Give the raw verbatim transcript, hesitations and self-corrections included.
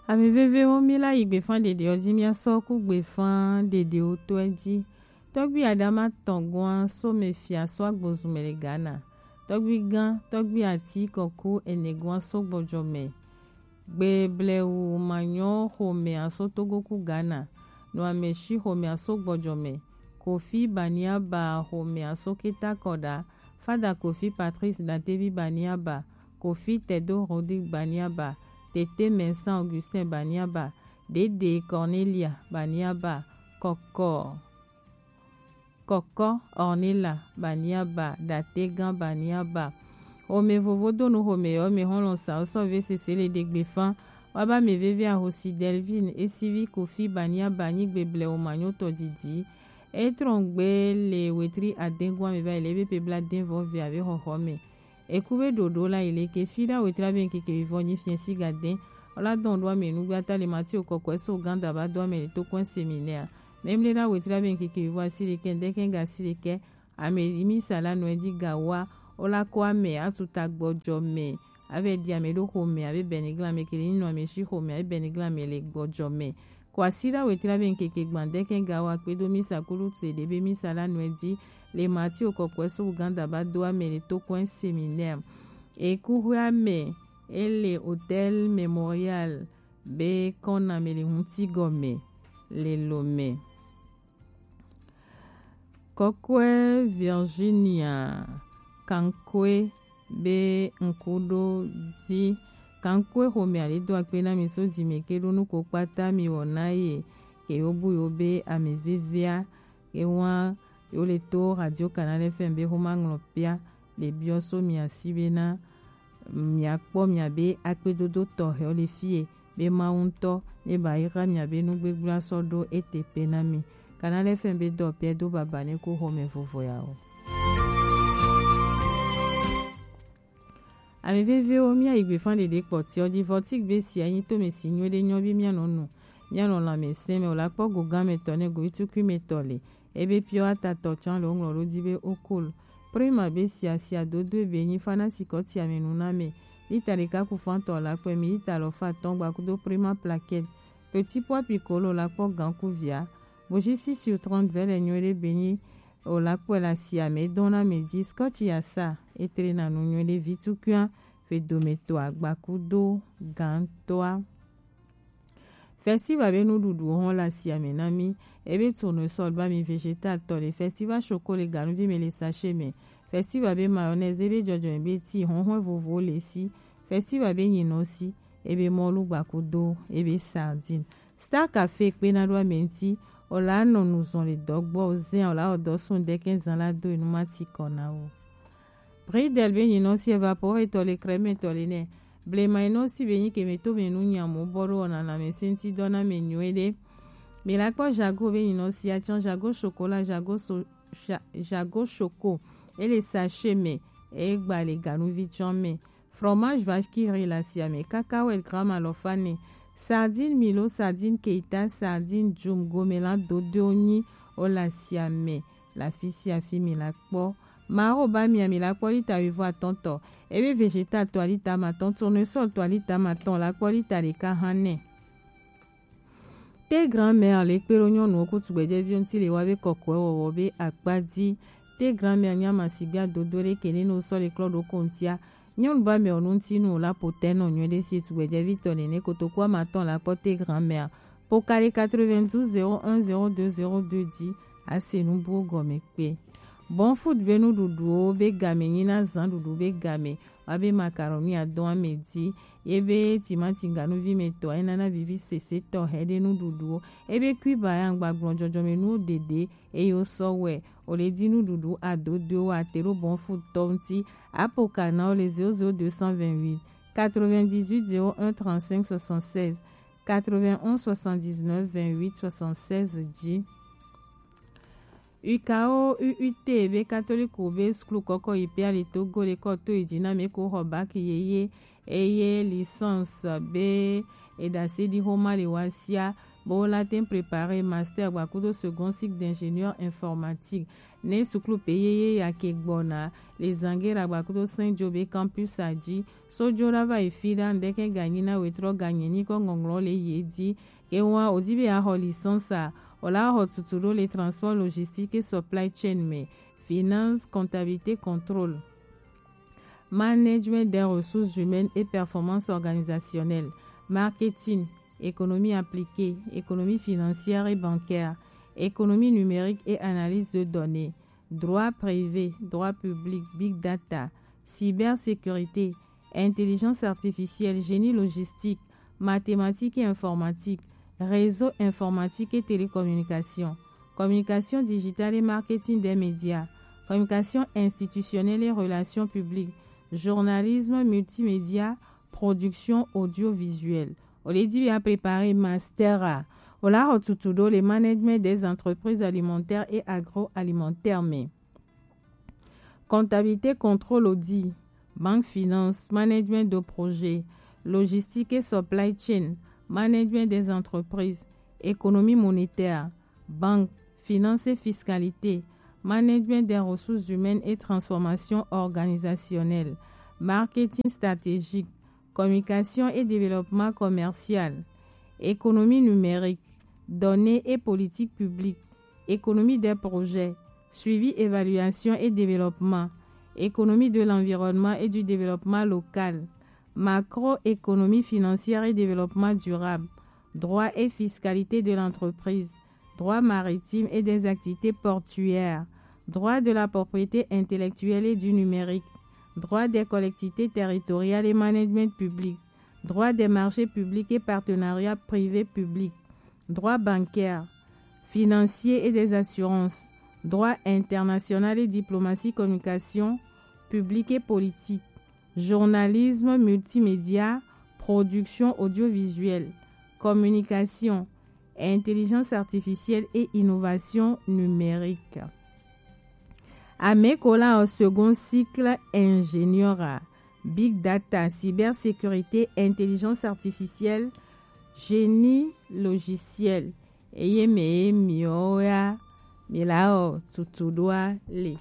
Ame vevewo, mi la yi gbefan ɖeɖewo ji, mia sɔ ku gbefan ɖeɖewo tɔe ji. Tɔgbi Adama tɔn gɔn so me fia so agbozu me le Ghana. Tɔgbi gan, tɔgbi ati kɔku ene gɔn so gbɔjɔ me. Gbe blewu manyɔ xomea so Togo ku Ghana. No ame shi xomea so gbɔjɔ me. Kofi Baniaba xomea so Keta Kɔda. Fada Kofi Patrice Datevi Baniaba. Kofi Tedo Rodrigue Baniaba. Tete Vincent Augustin Baniaba. Dede Cornelia Baniaba. Kɔkɔ Kɔkɔ Ornella Baniaba, Dategan Baniaba. Xomɛ vovo do nu xomɛ yɔ mɛ xɔlɔn sa sɔ ve sese le ɖe gbefan. Wa ba mɛ veve ahosi Delvin esivi Kofi Baniaba nyigbe blɛ o manyotɔ didi. E trɔn gbe le wetri adengua mɛ va yi le ebe pe bla den vɔ ve ave xɔxɔ mɛ. Eku be ɖoɖo la yi leke fi ɖa wetri abe ŋkeke vivɔ nyi fiɛ si ga dɛn. Ola dɔn ɖo ame nugbe ata le Matthew kɔkɔɛ so Uganda ba do ame le to kɔn seminɛa. Mɛmle ɖa wetri abe ŋkeke vivɔ asi ɖekɛ ŋdɛkɛ ga asi ɖekɛ. Ame yi mi sa la nɔɛ di ga wa. Ola kɔ ame atuta gbɔjɔ mɛ. Avɛ di ame ɖo xomɛ abe bɛnigla ame kele nyi nɔ ame shi xomɛ abe bɛnigla ame le gbɔjɔ mɛ. Kwasiɖa wetri abe ŋkeke gbãdɛkɛ gawa kpedo misa kulu kple ɖebe misa la nɔɛ di le Matthew kɔkɔɛ so Uganda ba do ame le to kɔɛ seminɛr. Ekuxɔe ame ele Hôtel Mémorial be kɔna ame le ŋuti gɔme le Lomé. Kɔkɔɛ Virginia Kankwe be ŋku ɖo di. Kankwe xomɛ ale do akpe na mi so di me ke ɖo nuko kpata mi wɔ na ye ke yo bu yo be ame vevea ke wa yo le to Radio Canal F M be xoma ŋlɔ pia le biɔ so mia si be na mia kpɔ mia be akpedodo tɔxɛwo le fie be Mawu ŋutɔ ne ba yi xa mia be nugbegblẽ sɔ ɖo ete pe na mi. Canal F M be dɔ pia do baba ne ko xɔme vovo ya o. Ame vevewo, mia yi gbefan ɖeɖe kpɔtiɔ di vɔtik be sia nyi to me si nyuie ɖe nyɔ bi mia nɔ nu mia nɔ lãmesẽ me o la kpɔ go gã me tɔ ne go itukui me tɔ le. Ebe piɔ atatɔ tsã le woŋlɔ ɖo di be okol. Prima be sia sia dodo ebe nyi fana sikɔ tia me nu na me. Lita ɖeka ku fantɔ la kpɛ mi lita alɔfa atɔ̃ gba kudo Prima plaquette. Petit pois piccolo la kpɔ gan ku via. Bojisi sur trente vɛ le nyuie ɖe be nyi o la kpɔe la sia me dɔn na me di scotch ya sa etre na nu nyuie ɖe vi tukua fe dome to agba kudo gan toa. Festival be nuɖuɖuwo hɔn le asiame na mí. Ebe tournesol ba mi vegetal tɔ le. Festival choco le ganuvi me le sachet me. Festival be mayonnaise ebe jɔjɔme be ti hɔnhɔn vovowo le si. Festival be nyinɔ si ebe mɔlu gbakudo ebe sardine. Star Café kpe na ɖo ame ŋuti. O la nɔ nu zɔn le dɔgbɔ o zɛn o la o dɔ sun dɛkɛ zan la do enu ma ti kɔ na o. Bridel be nyinɔ si evapore tɔ le crème tɔ le nɛ. Blema yi nɔ si be nyi ke me to me nu nyamo bɔ ɖo wɔna na me senti dɔ na me nyuie ɖe. Me la kpɔ jago be nyinɔ si atsɔ jago chocolat jago so ja, jago choco ele sachet me e gba le ganuvi tsɔ me. Fromage vache qui rit la sia me cacahuète gramme alɔfa ne. Sardine milo sardine keita sardine jum gomelan dodo nyi o la sia me. Le afi sia afi mi la kpɔ. Mawo ba mia mi la kpɔ lita wuivo atɔ̃ tɔ. Ebe vegetal to alita matɔ̃, tournesol to alita matɔ̃ la kpɔ lita ɖeka hã nɛ. Te grand-mère le kpe ɖo nyɔnuwo ku tugbɛjɛviwo ŋuti le wa be kɔkɔe wɔwɔ be akpa di. Te grand-mère nya ma sigbe adodo ɖe ke ne no sɔ le klɔ ɖo ko ŋutia. Nyɔnu ba mɛ o nu ŋuti nu o la po tɛ nɔ nyuie ɖe si tugbɛjɛvi tɔ nene kotoku ama tɔn la kpɔ te grand-mère. Pokali quatre-vingt-douze zéro un zéro deux zéro deux dzi ase nu buwo gɔme kpe. Bon Food be nuɖuɖuwo be game nyi na zan ɖuɖu be game, wa be macaroni adɔn ame dzi, ye be timati ganuvi me tɔ enana vivi sese tɔ he ɖe nuɖuɖuwo, ebe kui ba ya ŋgba gblɔ jɔjɔme nuwo ɖeɖe, eye wo sɔ wɛ, o le di nuɖuɖu adodoewo ate ɖo Bon Food tɔ ŋuti, apo ka na wo le zéro zéro deux cent vingt-huit quatre-vingt-dix-huit zéro un trente-cinq soixante-seize. Quatre-vingt-onze soixante-dix-neuf vingt-huit soixante-seize dzi. U K O U U T be katoliko be suklu kɔkɔ yi pia le Togo le kɔ to yi dzi na me ko xɔ baki yeye. eye licence be edase ɖi xoma le wa sia, bo la ten préparer master gba kudo second cycle d'ingénieur informatique. Ne suklu pe yeye ya ke gbɔna le zange ɖagba kudo Saint Job campus a ji, so jo ɖa va yi fi ɖa, ŋdeke ga nyi na wetrɔ ga nye nyikɔ ŋɔŋlɔ le ye di. Ke wa o di be a xɔ licence a, o la xɔ tutu ɖo le transport logistique et supply chain me, finance, comptabilité, contrôle, management des ressources humaines et performance organisationnelle, marketing, économie appliquée, économie financière et bancaire, économie numérique et analyse de données, droit privé, droit public, big data, cybersécurité, intelligence artificielle, génie logistique, mathématiques et informatique, réseau informatique et télécommunication, communication digitale et marketing des médias, communication institutionnelle et relations publiques, journalisme multimédia, production audiovisuelle. O le di be a préparer master a, o la xɔ tutu ɖo le management des entreprises alimentaires et agroalimentaires me. Comptabilité, contrôle, audit, banque, finance, management de projet, logistique et supply chain, management des entreprises, économie monétaire, banque, finance et fiscalité, management des ressources humaines et transformation organisationnelle, marketing stratégique, communication et développement commercial, économie numérique, données et politique publique, économie des projets, suivi, évaluation et développement, économie de l'environnement et du développement local, macroéconomie financière et développement durable, droit et fiscalité de l'entreprise, droit maritime et des activités portuaires, droit de la propriété intellectuelle et du numérique, droit des collectivités territoriales et management public, droit des marchés publics et partenariats privés publics, droit bancaire, financier et des assurances, droit international et diplomatie, communication publique et politique, journalisme multimédia, production audiovisuelle, communication, intelligence artificielle et innovation numérique. Ameko la au second cycle ingénieur, big data, cybersécurité, intelligence artificielle, génie logiciel. Eye me ye miwo ya mi la o tutu ɖoa le.